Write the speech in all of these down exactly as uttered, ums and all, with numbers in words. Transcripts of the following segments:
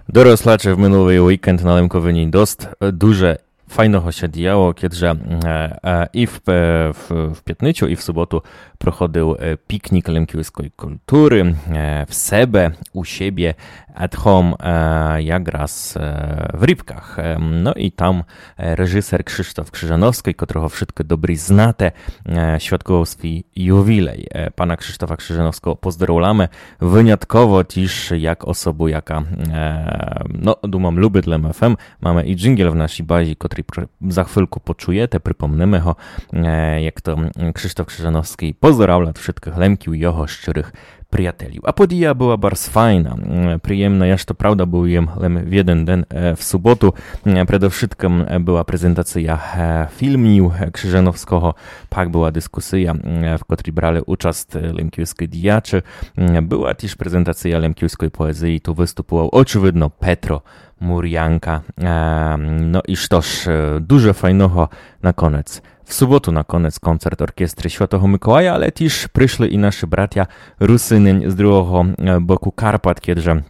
Дорослаче, в минулый уікенд на Лемковині дост, е, дуже файного ся діяло, кедже, е, е, і в, е, в, в пятницю, і в суботу проходив, е, пікнік лемківской культуры, е, в себе, у себе, at home, е, якраз, е, в Рібках. Е, но і там, е, режысер Кшыштоф Крыжановскій, котрого вшыткы добрі знате, е, святковав свій ювілей. Е, пана Кшыштофа Крыжановского поздоровляме, вынятково тіж як особу, яка, е, но, думам, любит Лем ФМ. Маме і джинґел в нашій базі, котрый пр-, за хвильку почуєте, припомниме го, е, як то, м, Кшыштоф Крыжановскій поздоравлят вшыткых Лемків, його щырых приятелів. А подія была барз файна, м, приємна. Я ж то правда быв єм лем в єден ден, е, в суботу. М, предовшыткым, е, была презентація, е, фільмів, е, Крыжановского. Пак была дискусія, м, в котрій брали участ, е, лемківскы діячы. М, была тіж презентація лемківской поезії. Ту выступував, очевидно, Петро Мурянка. Е, но і што ж, е, дуже файного на конець. В суботу на конець концерт оркестры Святого Миколая, але тіж пришли і нашы братя Русины з другого, е, боку Карпат, кедже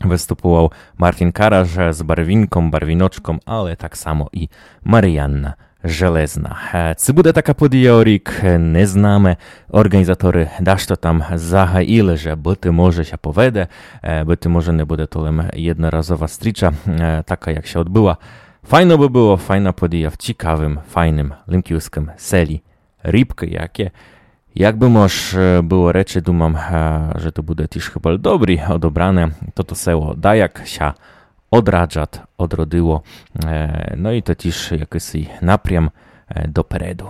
выступував Мартін Караш з барвінком, барвіночком, але так само і Маріанна Железна. Е, ци буде така подія о рік, е, не знаме. Орґанізаторы дашто там загаїли, же быти може ся поведе, е, быти може не буде то лем єдноразова стріча, е, така, як ся одбыла. Файно бы было, файна подія в цікавым, файным лемківскым селі Рібкы, яке, як бы мож, е, было речи, думам, е, же то буде тіж хыба добрі одобране, тото село даяк ся одраджат, одродило, е, но і то тіж якысий напрям, е, допереду.